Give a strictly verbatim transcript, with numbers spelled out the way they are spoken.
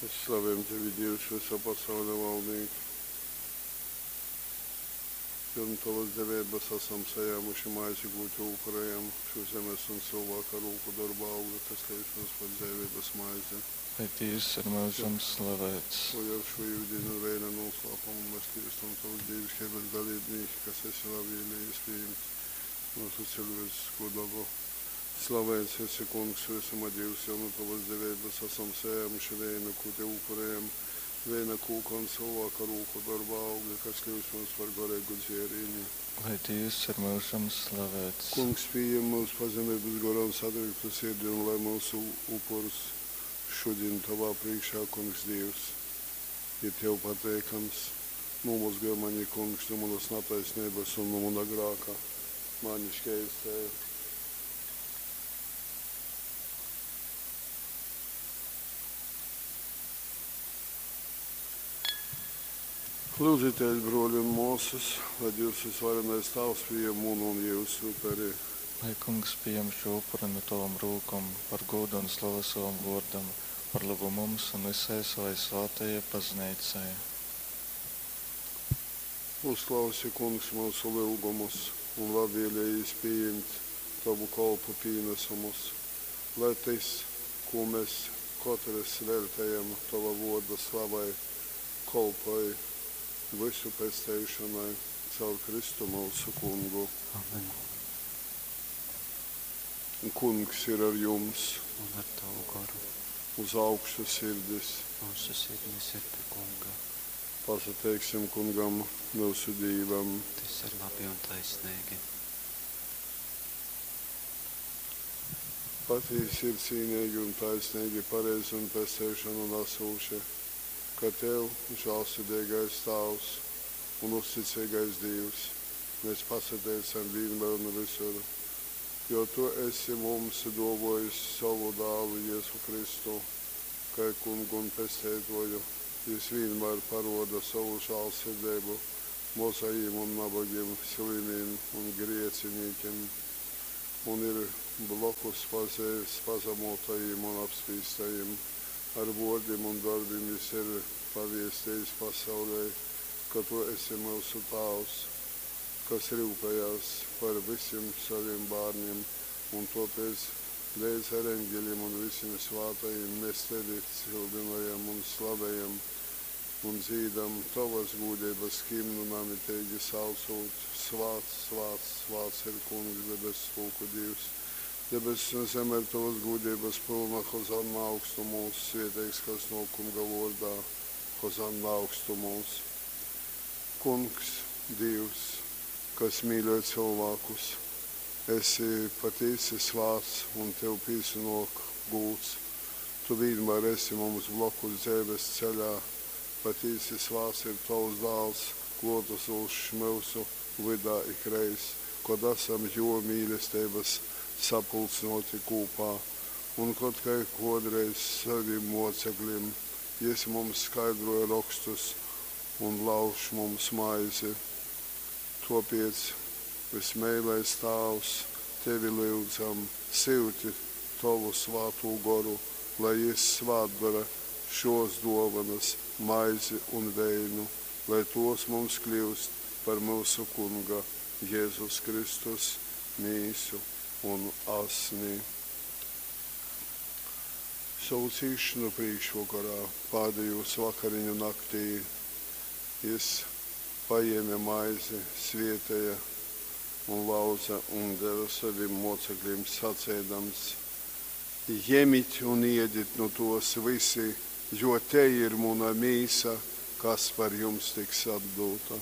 Mēs slavējam Tevi, Dievs, visa pasaules valdniek. Jo nu Tavas deveibas esam sajēmuši maizi, kū Tev upurējam, šo zemes un cilvēka rūku darba augli, kas liec mums par dzēvības maizi. Lai Dievs ir mūžam slavēts. Lai ar šo ūdeni un veina noslēpumu mēs kļūstam Tavas dievišķības dalībnieki, kas esi labvēlījies pieņemt mūsu cilvēcisko dabu. Slavēts esi, Kungs, visuma Dievs, jo no Tavas deveibas esam sajēmuši veinu, ko Tev upurējam, veina kūka un cilvēka rūku darba augli, kas kļūst mums par garīgu dzērieni. Lai Dievs ir mūžam slavēts. Kungs, pieņem mūsu pazemības goru un satriektu sirdi, un lai mūsu upurs šodien Tavā priekšā, Kungs, Dievs, ir Tev pateikams. Nomazgaj mani, Kungs, no manas netaisnības un no mana grāka. Mani šķēstē. Lūdzieties, broļi un māsas, lai Dievs visvarenais Tēvs pieņem munu un jūsu uperi. Lai Kungs pieņem šo upuri no tavam rūkom, par godu un slavu savam vārdam, par labu mums un visai savai svētajai baznīcai. Uzklausi, Kungs, mūsu lūgumus un labvēlījies pieņemt Tavu kalpu pienesumus, lai tas, ko mēs katrs veltējam Tava vārda slavai, kalpoj visu pestīšanai caur Kristu mūsu Kungu. Amen. Kungs ir ar jums, Un ar tavu garu. uz augšu sirdis. Mūsu sirdis ir pie Kunga. Pasateiksim Kungam, mūsu Dievam. Tas ir labi un taisnīgi. Patiesi ir cīnīgi un taisnīgi, pareizi un pestīšanu nesoši, ka Tev, žēlsirdīgais Tēvs un uzticīgais Dievs, mēs pasateicam vienmēr un visur, jo Tu esi mums dāvājis savu dēlu Jēzu Kristu, kā kungu un pestītoju. Jis vienmēr paroda savu žēlsirdību mozajiem un nabagiem, slimiem un griecinīkiem, un ir blokus pazēs pazemotajiem un apspīstajiem. Ar vārdiem un darbiem jis ir pavēstījis pasaulē, ka Tu esi mūsu Tēvs, kas rūpējās par visiem saviem bērniem, un tāpēc līdz ar eņģeļiem un visiem svētajiem mēs Tevi cildinājam un slavējam un dzīdam Tavas gudrības himnu namitīgi saucot: Svēts, svēts, svēts ir Kungs, debesu pulku Dievs. Debesis un zeme ir Tavas gudrības pilna, Hozanna augstumos, svētīgs, kas no Kunga vārdā, Hozanna augstumos. Kungs, Dievs, kas mīļo cilvēkus, esi patiesi svēts un Tev piesanāk gūts. Tu vienmēr esi mums blokus dzīves ceļā. Patiesi svēts ir Tavs dēls, klotasošs mūsu vidā ikreiz, kad esam jo mīlestības sapulcinoti kopā. Un kad kā kādreiz saviem mocekļiem, jis mums skaidroja rakstus un lauž mums maizi. Tāpēc, vismīļais Tēvs, Tevi lūdzam, sūti Tavu svēto goru, lai jis svētdara šos dāvanas, maizi un veinu, lai tos mums kļūst par mūsu Kunga Jēzus Kristus mīsu un asni. Savu cīšanu priekšvakarā, pēdējos vakariņu naktī, jis paēma maizi, svietēja un lauza un deva saviem mocekļiem sacēdams: Ņemiet un iediet no tos visi, jo te ir mana mīsa, kas par jums tiks atdota.